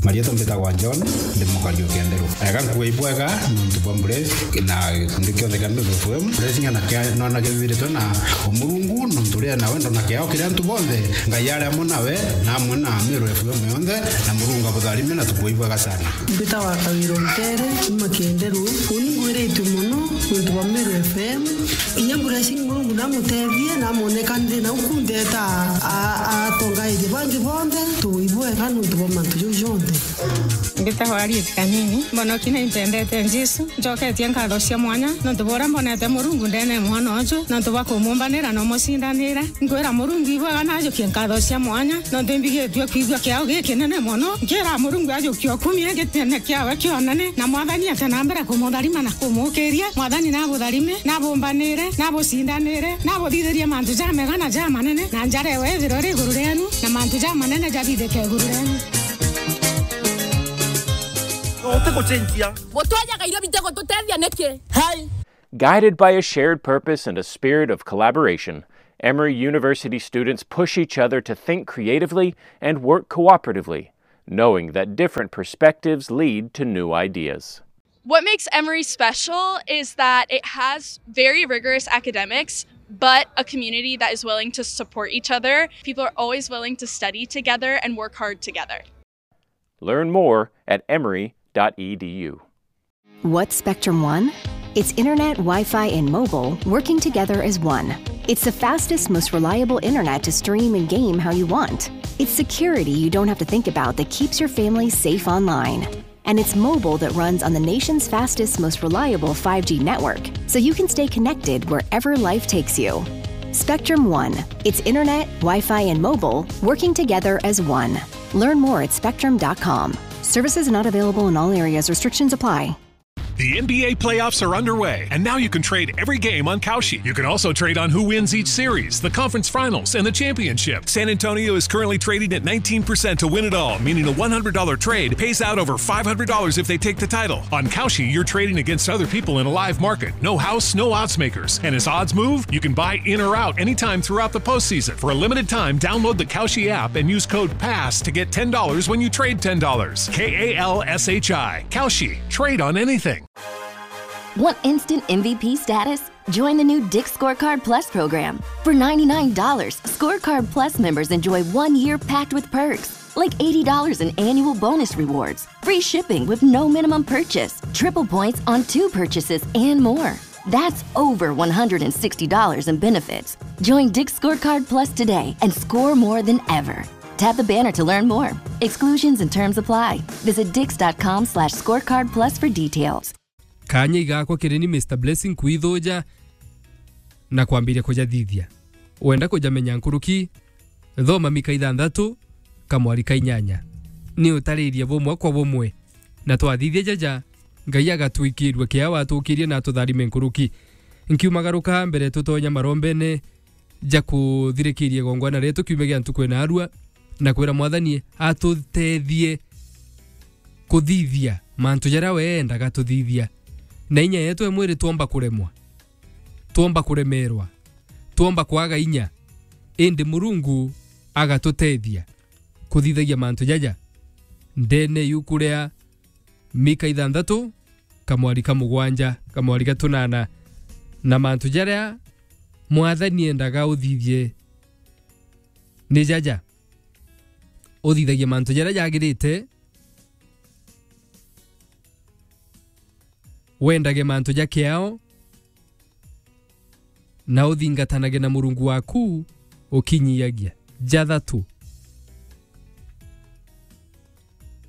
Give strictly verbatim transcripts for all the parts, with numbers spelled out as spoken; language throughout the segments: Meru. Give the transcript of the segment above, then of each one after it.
Marietwa mbitagwa John, ndi mukari o Kenderu. Ega nkuga ibwega nontu bwa Bless na gikundi kionthe kia Meru F M. Bless ng'ana kia nona kiathiritwe na Umurungu, nontu ria na wendo na kiao kiri antu bonthe. Ngai ari amwe nawe na amwe na Meru F M yonthe, na Murungu abutharime na tukuga ibwega sana. Mbitagwa Kawira Ntere, kuma Kenderu. Uni ngwiritue mono nontu bwa Meru F M. Inya Bless Murungu namutethie, namwoneka nthi na uku ntheta a-, a-, atongairie bangi bonthe, tuibwega nontu bwa mantu jau jonthe. Mbitagwa Harriet Kanini, mbonoki na impendete Jesu, njoketie nkatho cia mwanya nontu bwa uria mbonete Murungu ndene mwana uju, nontu bwa kumumbanira na umucindanira. Nkwira Murungu ibwega na ajukie nkatho cia mwanya, nontu imbigitue kwigua kiao gikinene mono. Nkira Murungu ajukie ukumie gitene kiawe kionene, na Mwathani ate na mbere kumutharima na kumukiria. Mwathani nabutharime, nabumbanire, nabucindanire, nabuthithirie mantu jamega na jamanene, na njara ewe ithirwe iri iguru rienu, na mantu jamanene jathithike iguru rienu. Utigucenjia. Gutwejaga irio bitigututethia niki? Hai. Guided by a shared purpose and a spirit of collaboration, Emory University students push each other to think creatively and work cooperatively, knowing that different perspectives lead to new ideas. What makes Emory special is that it has very rigorous academics, but a community that is willing to support each other. People are always willing to study together and work hard together. Learn more at emory dot e d u. What's Spectrum One? It's internet, Wi-Fi, and mobile working together as one. It's the fastest, most reliable internet to stream and game how you want. It's security you don't have to think about that keeps your family safe online. And it's mobile that runs on the nation's fastest, most reliable five G network, so you can stay connected wherever life takes you. Spectrum One. It's internet, Wi-Fi, and mobile working together as one. Learn more at spectrum dot com. Services not available in all areas. Restrictions apply. The N B A playoffs are underway, and now you can trade every game on Kalshi. You can also trade on who wins each series, the conference finals, and the championship. San Antonio is currently trading at nineteen percent to win it all, meaning a one hundred dollar trade pays out over five hundred dollars if they take the title. On Kalshi, you're trading against other people in a live market. No house, no odds makers. And as odds move, you can buy in or out anytime throughout the postseason. For a limited time, download the Kalshi app and use code PASS to get ten dollars when you trade ten dollars. K A L S H I. Kalshi. Trade on anything. Want instant M V P status? Join the new Dick's Scorecard Plus program. For ninety-nine dollars, Scorecard Plus members enjoy one year packed with perks, like eighty dollars in annual bonus rewards, free shipping with no minimum purchase, triple points on two purchases, and more. That's over one hundred and sixty dollars in benefits. Join Dick's Scorecard Plus today and score more than ever. Tap the banner to learn more. Exclusions and terms apply. Visit dix dot com slash scorecard plus for details. Kaanya igakwa kiri ni Mister Blessing kwithuja na kwambiria kujathithia. Wenda kujamenya nkuruki, thoma Mika ithanthatu, kamwari ka inyanya. Ni utaririe bumwe kwa bumwe, na twathithia jaja, Ngai agatwikirua kiao atukirie na atutharime nkuruki. Nkiumagaruka mbere tutonya marombene ja kuthirikiria igongwana rietu kiumia gia ntuku ina arua, na kwira Mwathani atutethie kuthithia mantu jaria we endaga tuthithia. Na inya yetu e mwiri twomba kuremwa, twomba kuremerwa, twomba kwaga inya, indi Murungu agatutethia kuthithagia mantu jaja ndene yuku ria Mika ithanthatu, kamwari ka mugwanja, kamwari ga tunana, na mantu jaria Mwathani endaga uthithie ni jaja. Uthithagie mantu jaria jagirite, wendage mantu ja kiao, na uthingatanage na Murungu waku ukinyiagia. Jathatu.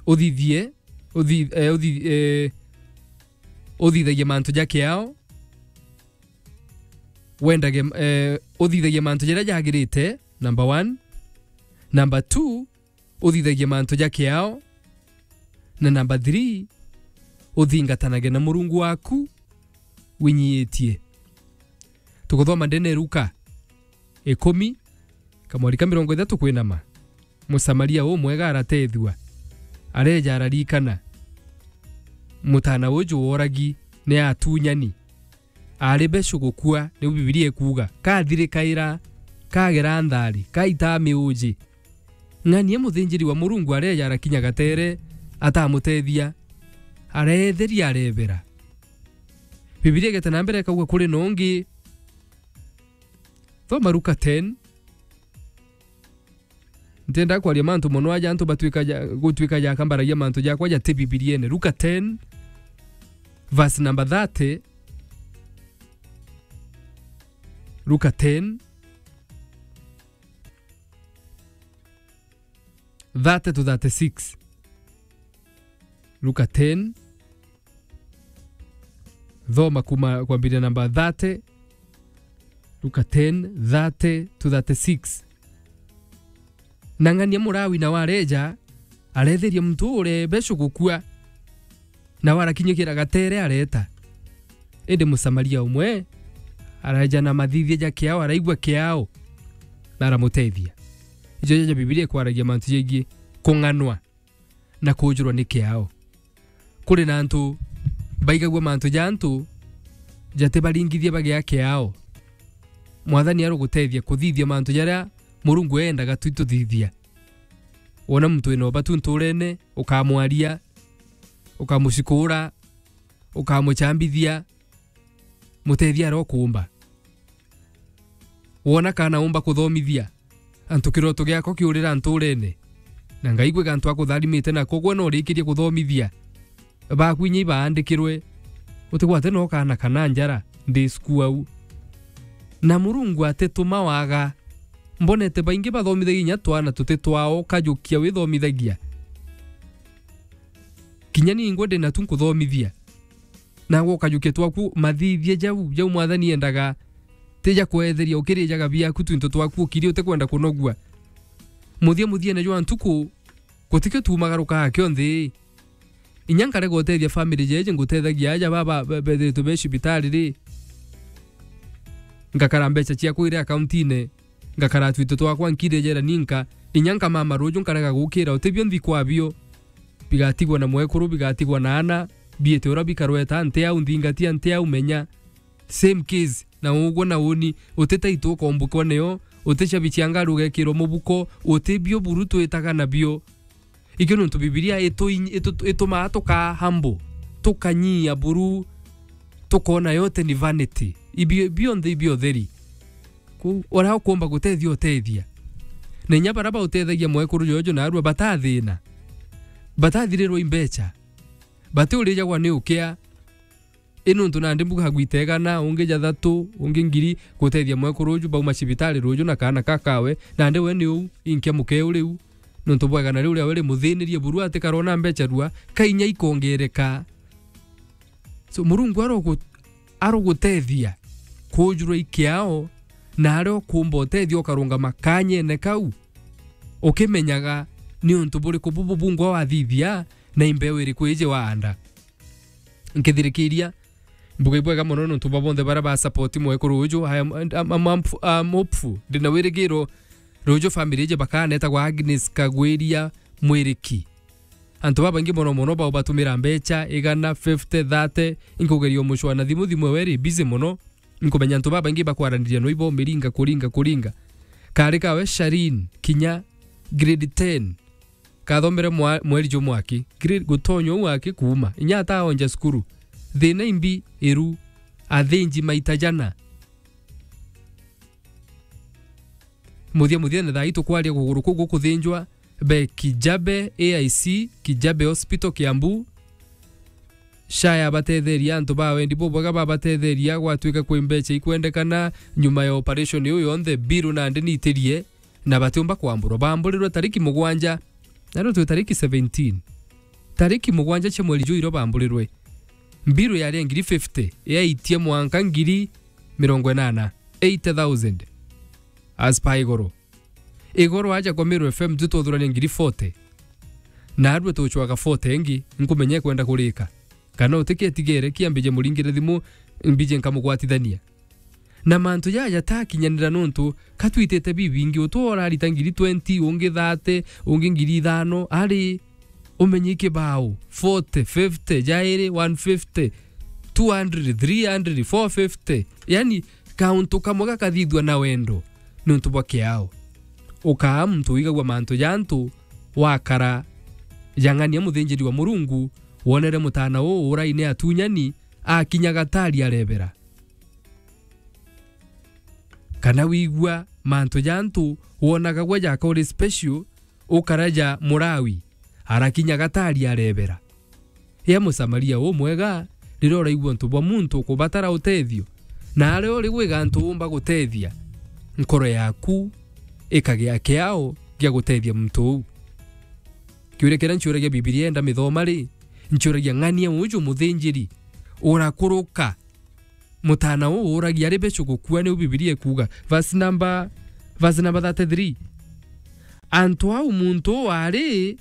Uthithie, uthi-, eh, uthi-, eh, uthithagie mantu ja kiao, wendage, eh, uthithagie mantu jaria jagirite, number one. Number two, uthithagie mantu ja kiao, na number three, uthingatanage na Murungu waku winyiitie. Tuguthoma ndene Luka ikumi, kamwari ka mirongo ithatu kwinama. Musamaria umwega aratethua, areja ararikana mutana uju woragi ni atunyani. Ari becu gukua, niu Bibilia ikuuga, kathirikaira, kagera nthari, kaitaa miuji. Ng'ania muthinjiri wa Murungu areja arakinya gatere, atamutethia, areetheria, areebera. Bibilia igeta na mbere ikauga kuri na ungi. Thoma Luka ten. Ntienda kwaria mantu mono aja antu batuika ja, gutuika jakambaragia mantu jakwa jati Bibiriene. Luka ten, verse number thirty. Luka ten, thirty to thirty-six. Luka ten, thoma kuma kwambiria namba thirty, Luka ten, thirty to thirty-six. Na ng'ania Murawi nawe areeja, areetheria muntu uria becu gukua, nawe arakinyukira gatere areeta. Indi Musamaria umwe areeja na mathithia ja kiao, araigua kiao, na aramutethia. Ijo jaja Bibilia ikwaragia mantu jegii kung'anwa na kuujurwa ni kiao. Kuri na antu baigagua mantu ja antu jatibaringithia bagia kiao. Mwathani arugutethia kuthithia mantu jaria Murungu eendaga tu tuthithia. Wona muntu wina ubatu nturene, ukamwaria, ukamucikura, ukamuchambithia, mutethia aria ukuumba. Wona kana umba kuthomithia antu kiroto giako kiurira nturene, na Ngai gwi gantu akutharimite nako, gwe no urikirie kuthomithia baku inya ibaandikirwe, utigwate no kana kana njara ndi cukuru au. Na Murungu atituma waga. Mbonete baingi bathomithagia inya twana tuti twao, ukajukia withomithagia. Kinya ningwe ndi natu nkuthomithia. Nagwe ukajukia twaku mathithia jau, jau Mwathani endaga, ti ja kwetheria, ukirijaga biaku twinto twaku ukiria utikwenda kunogua. Muthia muthiene jwa ntuku, gutikio tuumagarukaga kionthe. Inya nkarega utethia family jeje ngutethagia aja baba be-, bethiritwe be cibitari ri, ngakara mbeca ciakwa iri akauntiine, ngakara twito twakwa nkirejera ninka, inya nkamama ruju nkarega gukira, utibio nthi kwabio. Bigatigwa na mwekuru, bigatigwa na ana, biite uria bikarweta, nti au nthingatia, nti au menya. Same case, na ugwe na uni, utitaitwo ukombukwa nio, uticabi cia ngari ugekirwa mubuko, utibio buru twitaga nabio. Ikio nontu Bibilia itu-, itu-, itumaa tukaa humble, tukanyia buru, tukoona yote ni vanity. Ibio, bionthe ibio theri. Kwou, uria ukumba gutethia, utethia. Na inya baria bautethagia mwekuru jojo naarua batathina, batathirirwa i mbeca, batiurijagwa ni ukia, I nontu nandi mbuga gwita igana, ungi ja thatu, ungi ngiri, gutethia mwekuru uju bauma cibitari ruju na kaana ka kawe, nandi we ni uu, inkia mukeu riu, nontu bwa igana riu riawe rimuthinirie buru atikarwa na mbeca rua, ka inya ikongereka. So, Murungu arogu-, arogutethia kuujurwa i kiao, na aria ukumba utethia ukarungama kanyene kau, ukimenyaga ni untu buriku bubu bungwa wathithia, na i mbeu iriku iji waanda. Nkithirikiria, mbuga ibwega mono nontu bwa bonthe baria ba support mwekuru uju. I am, I'm, I'm, I'm, I'm hopeful. Ndina wirigiro ruju family iji bakaana etagwa Agnes Kagwiria Mwiriki. Antu babaingi mono mono bao batumira mbeca igana, fifty, thirty, inkugeria umucwa na thimu, thimu ewe iri busy mono. Nkumenya antu babaingi bakwaraniria no ibo miringa, kuringa, kuringa. Kari kawe Sharin, kinya grade ten. Kathomere mwa-, mweri jumwe aki, gre-, gutonya uu aki kuuma. Inya ataonja cukuru. Thina imbi iru. Athinji maita jana. Muthia muthia ni thaa ii tukwaria kuguru kuu gukuthinjwa be Kijabe A I C, Kijabe Hospital, Kiambu. Sha yabatetheria, antu ba wendi bubwega babatetheria, gwatuika kwi mbeca ikwendekana nyuma ya operation iu yonthe, biru nandi niitirie, na batiumba kwamburwa. Baamburirwe tariki mugwanja, na riu twi tariki seventeen. Tariki mugwanja cia mweri juu irio baamburirwe. Mbiru yari ya ngiri fifty, yaitie mwanka ngiri mirongo inana, eighty thousand. As per Igoro. Igoro aja kwa Meru F M tu twathuurania ngiri forty. Naarua tucwaga forty ingi, nkumenya ikwenda kurika. Kana utiketigere, kia mbije muringire thimu, mbije nkamugwatithania. Na mantu jaja jatakinyanira nontu ka twitite bibingi, utwo urarita ngiri twenty, ungi thirty, ungi ngiri ithano, ari umenye ikibao, forty, fifty, jairi, one fifty, two hundred, three hundred, four fifty. Yani, kauntu kamwe gakathithua na wendo nontu bwa kiao. Ukaa muntu wigagua mantu ja antu, wakara jang'ania muthinjiri wa Murungu wonere mutaana uu uraine atunyani akinya gatari arebera. Kana wigua mantu ja antu wonaga gwe jaka uri special, ukaraja Murawi, arakinya gatari arebera. Ea Musamaria umwega, riria uraigua untu bwa muntu ukubatara utethio, na aria uri gwiga antu umba gutethia, nkoro yaku ikagia kiao gia gutethia muntu uu. Kiuria kiria nciuragia Bibilia enda mithoma ri, nciuragia ng'ania uju muthinjiri urakuruka mutaana uu uragia ari becu gukua, niu Bibilia ikuuga. Verse number, verse number thirty-three. Antu au muntu uu ari,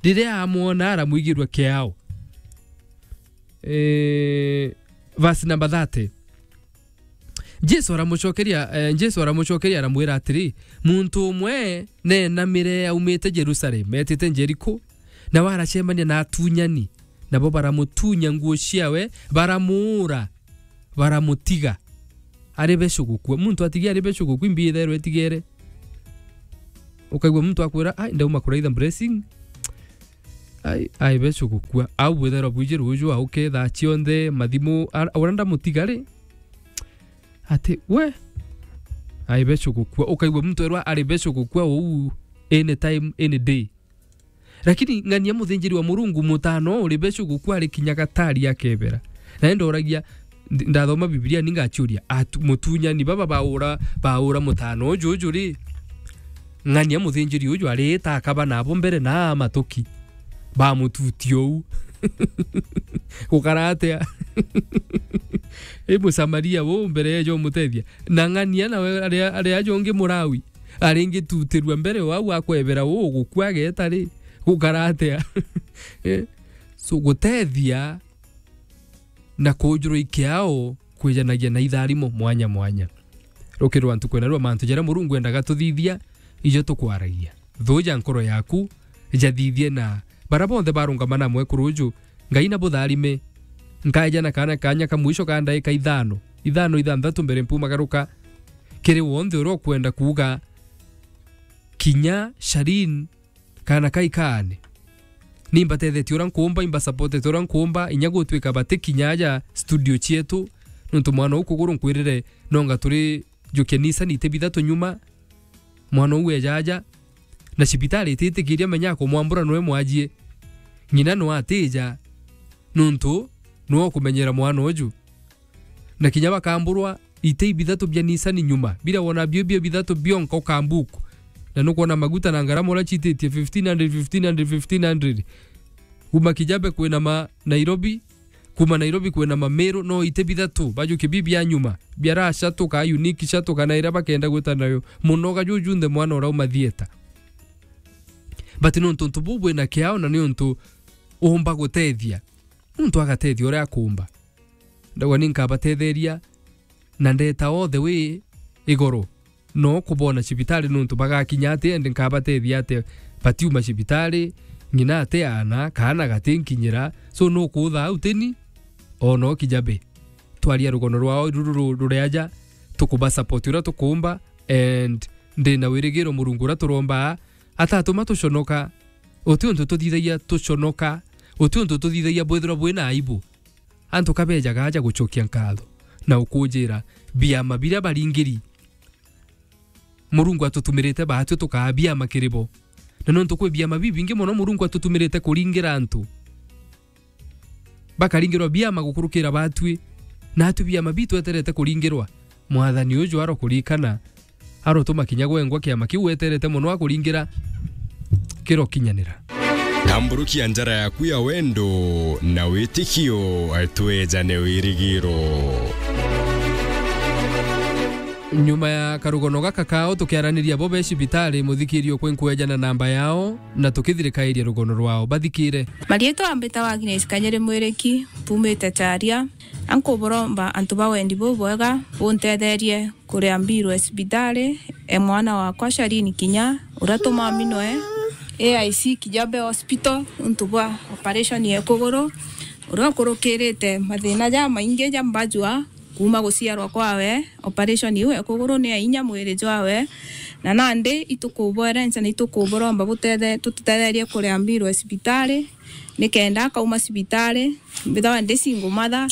riria amwona aramwigirua kiao. Eh, verse number thirty. Jesu aramucokeria, eh, Jesu aramucokeria aramwira atiri, muntu umwe neenamire aumite Jerusalem, etite Jeriko, nawe aracemania na atunyani, nabo baramutunya nguo ciawe, baramuura, baramutiga ari becu gukua. Muntu atigia ari becu gukua, imbi itherwe itigere. Ukaigua muntu akwira, "Ai, ndauma kuraitha blessing." Ai, ai becu gukua. Au bwitherwa bwiji ruju auke thaa cionthe, mathimu, ara-, uria ndamutiga ri? Ati, we? Ai becu gukua. Ukaigua muntu erwa ari becu gukua uu any time, any day. Lakini ng'ania muthinjiri wa Murungu, mutaana uu uri becu gukua ari kinya gatari akebera. Na enda uragia, ndi-, ndathoma Bibilia ni ngaciuria, atu-, mutunyani baba baura, baura mutaana uju, uju ri? Ng'ania muthinjiri uju ariita akaba nabo mbere na matuki. Bamututia uu. Gukara atia? I Musamaria uu mbere ejo mutethia. Na ng'ania nawe aria, aria ajo ungi Murawi. Aringitutirua mbere o au akwebera uu gukua ageta ri, gukara atia? Eh? So, gutethia na kujurwa ikiao kwijanagia na itharimo mwanya mwanya. Rukirwa ntuku ena rwa mantu jaria Murungu endaga tuthithia, ijo tukwaragia. Thuja nkoro yaku, jathithie na bara bonthe barungama na mwekuru uju, Ngai na butharime. Nkaeja na kaana kanya ka mwisho ka ndaika ithano, ithano, ithanthatu mbere mpumagaruka. Kiri wonthe uria ukwenda kuuga, kinya Sharin, kaana kai kaane. Ni mbatethetie uria nkuumba, imbasupportete uria nkuumba, inya gutwika bati kinya aja studio cietu, nontu mwana uu kuguru nkwirire, nonga turi jukia Nissan iti bithatu nyuma, mwana uu eja aja, na cibitari ititikiria menya akumwambura nwe mwajie. Ng'ina no atija, nontu nwe ukumenyera mwana uju. Na kinya bakamburwa ite ibithatu bia Nissan nyuma, bira wona bio, bio bithatu bionka ukambuku. Na nukwona maguta na ngarama uria cititie fifteen hundred, fifteen hundred, fifteen hundred. Kuma Kijabe kwina ma Nairobi, kuma Nairobi kwina ma Meru, no ite bithatu, bajukie bi bia nyuma, bia ra shuttle ka unique shuttle kana iria bakenda gwita nayo. Munoga juju nthe mwana urauma thieta. But nontu untu buu bwina kiao na ni untu umba gutethia. Muntu agatethia uria akumba. Ndauga ni nkabatetheria na ndeta all the way iguru. No kubona cibitari nontu bagakinya ati, and nkabatethia ati batiuma cibitari, ng'ina ati ana, kaana gatinkinyira. So, nukutha au teni, o no Kijabe. Twaria rugono rwao ruru ru-, ruri aja, tukuba support uria tukumba, and ndina wirigiro Murungu uria turombaa, atatuma tuconoka. Uti untu tuthithagia tuconoka, uti untu tuthithagia bwithirwa bwina aibu. Antu kabejaga aja gucokia nkatho na ukunjira biama biria baringiri. Murungu atutumirite baatwi tukaa biama kiri bo. Na nontu kwi biama bibingi mono Murungu atutumirite kuringira antu. Bakaringirwa biama gukurukira baatwi. Naatwi biama bitu eterete kuringirwa. Mwathani uju arokurikana, arotuma kinya gwengwa kiama kiu weterete mono akuringira kirokinyanira. Tamburukia njara yaku ya wendo na witikio, twejane wirigiro. Nyuma ya karugono gaka kao, tukiaraniria bo be cibitari, muthikirio kwi nkwejana namba yao, na tukithirikairia rugono rwao. Bathikire. Marietwa mbitawa Agnes Kanyere Mwiriki, mpumite Charia. Ankuburomba antu ba wendi bubwega buntetherie kuria mbiru e cibitari e mwana wakwa Sharini Kinya, uria tumaminwe A I C Kijabe Hospital nontu bwa operation ya kuguru, uria ukurukirite mathina jamaingi ja mbajua, Kuuma guciarwa kwawe, operation iu ya kuguru ni ya inya mwiri jwawe, na nandi itukuboerenca na itukuburomba butethe-, tututetherie kuria mbiro ya cibitari, nikenda akauma cibitari, mbithagwa ndi single mother,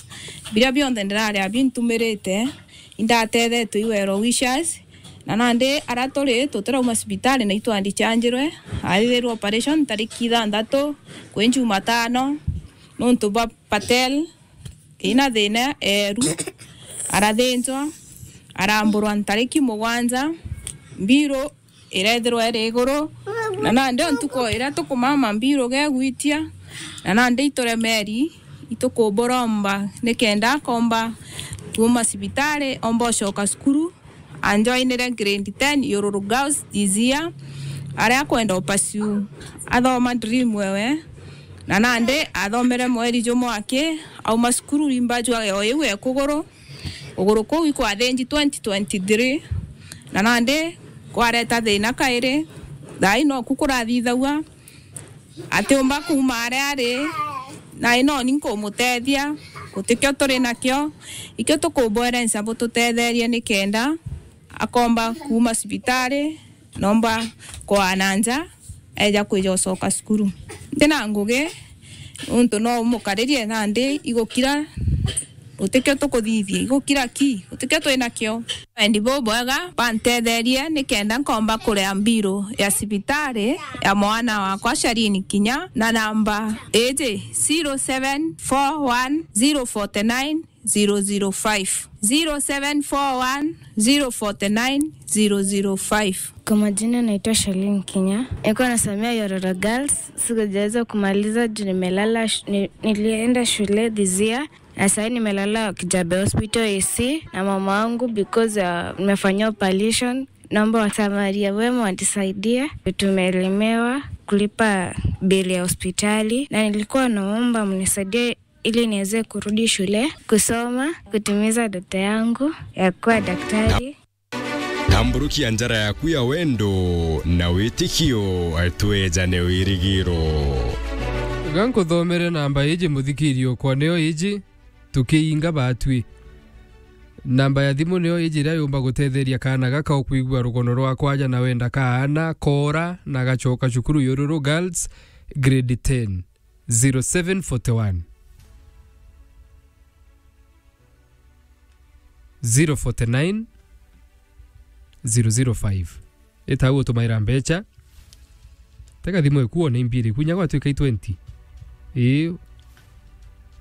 biria bionthe ndiraria bintumirite, indatethetwe i well wishers, na nandi aria turi tutirauma cibitari na itwandichanjirwe, athithirwe operation tariki ithanthatu kwi Jumatano, nontu bwa Patel, ina thina eeru, arathinjwa, aramburwa ntariki mugwanja, mbiru irethirwa iri iguru, na nandi o ntuku iria tukumama mbiru gegwitia, na nandi ituremeri, itukuburomba nikenda akomba kuuma cibitari, omba ucoka cukuru, anjoinire grade ten Yururu Girls this year, aria akwenda upursue athoma dream ewe, na nandi athomere mweri jumwe aki, auma cukuru rimba jwa o iu e kuguru, kuguru kuu ikwathinji twenty twenty-three, na nandi kwareta thina kairi, thaai noku kurathithagua, atiumba kuuma aria ari, na inoni nkumutethia, gutikio turi nakio, ikio tukubwerenca bututetherie nikenda akomba kuuma cibitari, nomba kwaa na nja, eja kwija ucoka cukuru. Ntina ngugi, untu no umukaririe nandi igukira, gutikio tukuthithia, igukira ki, gutikio twinakio. Wendi bubwega, bantetherie nikenda nkomba kuria mbiru ya cibitari ya mwana wakwa Shalini Kinya, na namba iji zero seven four one zero forty nine zero zero five, zero seven four one zero forty nine zero zero five. Kwa majina naitwa Shalini Kinya. Nilikuwa nasomea Yororo Girls. Sikujaweza kumaliza juu nimelala sh-, ni-, nilienda shule this year. Na sahii nimelala Kijabe Hospital A C na mama wangu because, uh, nimefanyiwa operation. Naomba wasamaria wema wanisaidie. Tumelemewa kulipa bili ya hospitali. Na nilikuwa naomba mnisaidie ili niweze kurudi shule, kusoma, kutimiza ndoto yangu ya kuwa daktari. Tamburukia njara yaku ya wendo na witikio, twejane wirigiro. Ga nkuthomere namba iji, muthikiria okwa, niyo iji, tukiinga batwi. Namba ya thimu niyo iji iria yumba gutetheria kaana gaka ukwigua rugono rwa kwaja na wenda kaana, koora, na gacoka cukuru Yururu Girls, grade ten. Zero seven forty one, zero forty nine, zero zero five. Ita au utumaira mbecha. Tega thimu eku one mbiri, kunya gwatwika i twenty. Ii.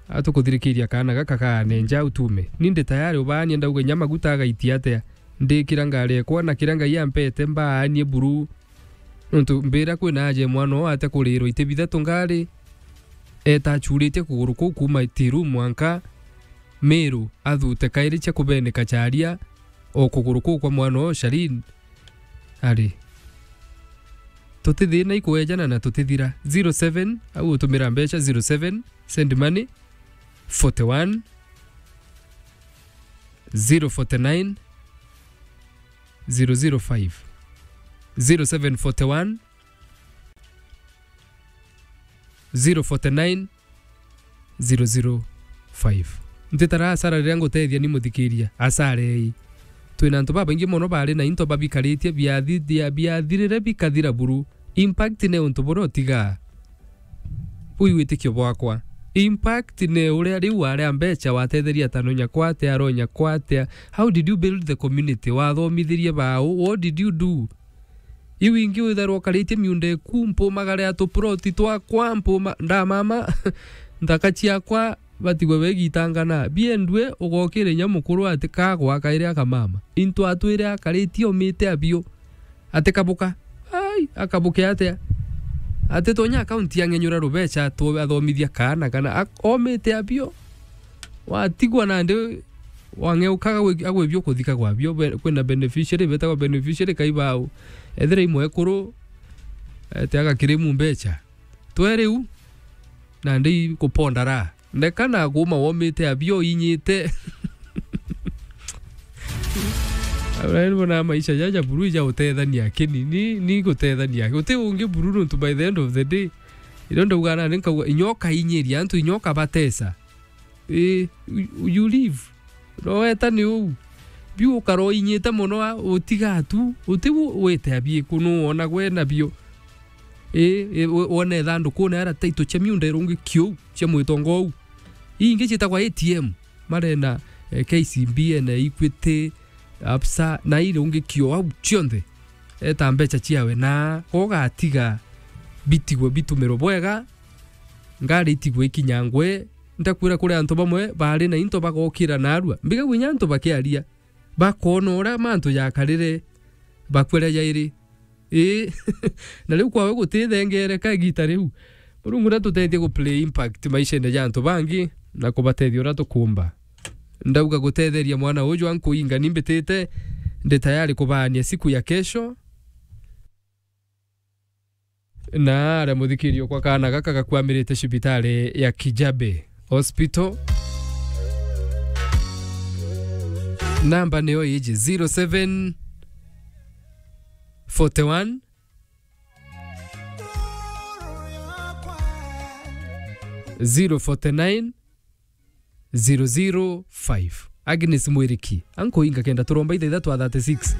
Atukuthirikiria kaana gaka kaane nja utume. Ni ndi tayari ubaanie ndauga inya maguta agaitia atia. Ndikira ngari ekwa na kiria Ngai ampete mbaanie buru. Nontu mbira kwina aja e mwana oo ate kurirwa iti bithatu ngari, eeta achuritie kuguru kuu kuuma Itiru mwanka Miru, athute kairi cia kubenika charia o kuguru kuu kwa mwana oo Shalin. Ari, tutithina ikwejana na tutithira. Zero seven, au utumira mbecha zero seven, send money, forty one, zero forty nine, zero zero five, zero seven forty one, zero forty nine, zero zero five. Ntitara asara riria ngutethia ni muthikiria, asara ei. Twina antu babaingi mono bari na into babikaritie biathi-, bia-, biathirire bikathira buru. Impact ne untu buria utigaa. Bui witikio bwakwa. Impact ne uria riu waria mbecha watetheria tano nyakwa atia, aro nyakwa atia. How did you build the community? Wathomithirie bau? What did you do? Iu ingi withairwa ukaritie miunda eku, mpumagare a tuploti twakwa, mpuma-, ndamama, nthaka ciakwa, batigwe begitangana. Biendue, ugokire inya mukuru ati kagwa kairi akamama. Into atwire akaritie omite abio. Ati kabuka. Ai, akabuke atia? Ati tonya akaunti ya ng'enyura rubecha tu athomithia kaana kana ak-, omite abio. Watigwa nandi wang'eukaga gwi-, agwibio kuthika gwabio, be-, kwina beneficiary, betagwa beneficiary kai bau. Ethira i mwekuru, ete agakirimu mbecha. Tweriu, nandi i kupondara. Ndeka na kuma womite abio inyite. Abraham bona maisha jaja buru ja utethania kini, ni, ni gutethania. Uti ungi buru nontu by the end of the day, irio ndauga nandi nkauga, inyoka inyiria antu, inyoka batesa. Eh, you, you live. No weta ni uu. Biu ukara uinyite mono a, utiga tu, uti u-, wite a biku, nu wona gwe nabio. Ii, ii, wo-, wona ithandukune ara taito cia miunda irungikio uu, cia mwitongo uu. Ii ingi ciitagwa A T M, marena, eh, K C B, ena Equity, Absa, na irungikio au cionthe. Eta mbeca ciawe na ugatiga bitigwe bitumirwe bwega, ngari itigwe ikinyangwe. Ndakwira kuri antu bamwe bari na into bagokira narua. Mbigagua inya antu bakiaria, bakona uria mantu jakarire, bakwira jairi. Ii, na riu kwawe gutithengereka igita riu. Murungu natutethie ku play impact maishene ja antu bangi na kubatethia uria tukumba. Ndauga gutetheria mwana uju ankuinga, ni mbitite, ndi tayari kubaania siku ya kesho. Na aria muthikirio kwa kaana gaka gakwamirite cibitari ya Kijabe Hospital. Namba niyo iji, zero seven forty one, zero forty nine, zero zero five. Agnes Mwiriki, ankuinga kenda turomba ithaitha twa thirty six.